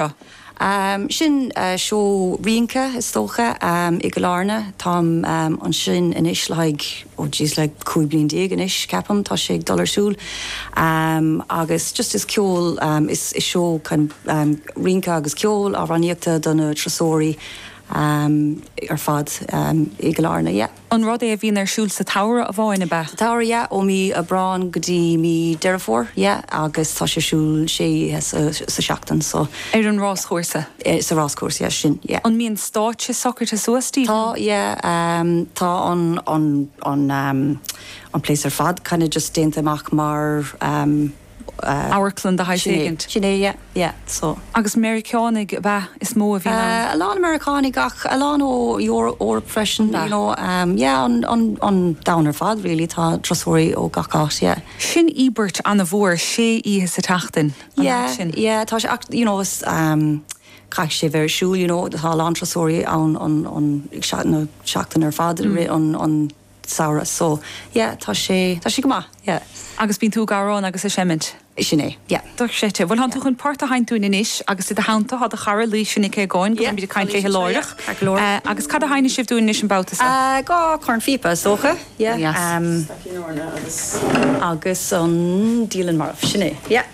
seo? Sin seó rince, is dócha, i gCill Airne. Táim ansin anois le haghaidh, oh jeez, le 15 bliain anois, ceapaim, tá sé ag dul ar siúl. Agus just is ceol, is seó kind of rince agus ceol, amhránaíochta do na turasóirí ar fad i gCill Airne, yeah. An rud é a bhíonn ar siúl sa tsamhradh amháin, ab ea? Sa tsamhradh, yeah, ó mí Aibreán go dtí mí Deireadh Fómhair, yeah, agus tá sé ar siúl sé oíche sa seachtain, so. Ar an ráschúrsa? Sa ráschúrsa, yeah, sin, yeah. An mbíonn stáitse socraithe suas daoibh? Tá, yeah, tá an, an, an, an place ar fad kind of just déanta amach mar, Amharclann de shaghas éigint. Sin é, yeah, yeah, so. Agus Meiriceánaigh ab ea is mó a bhíonn ann? A lán Meiriceánaigh ach a lán ó Eoraip freisin, you know, yeah, an, an, an domhan ar fad really, tá turasóirí ó gach áit, yeah. Sin íobairt an-mhór, sé oíche sa tseachtain, an ea sin? Yeah, yeah, tá sé ach, you know, is, caithfidh sé bheith ar siúl, you know, tá a lán turasóirí ann an, an, na seachtain ar fad i rith an, an, samhradh so yeah tá sé, tá sé go maith yeah. Agus bíonn tú ag amhrán agus ag seimint? Sin é, yeah. Dochreidte. Bhuel tánn tú chun port a sheinnt dúinn anois agus i do theannta tá do chara Laoise Nic Aogáin go mbeimid ag caint léi láithreach. Ceart go leor. Agus cad a sheinnfidh sibh dúinn anois an babhta seo? Dhá chornphíopa is dócha, yeah. Yes. Agus an Dialann Marbh, sin é, yeah.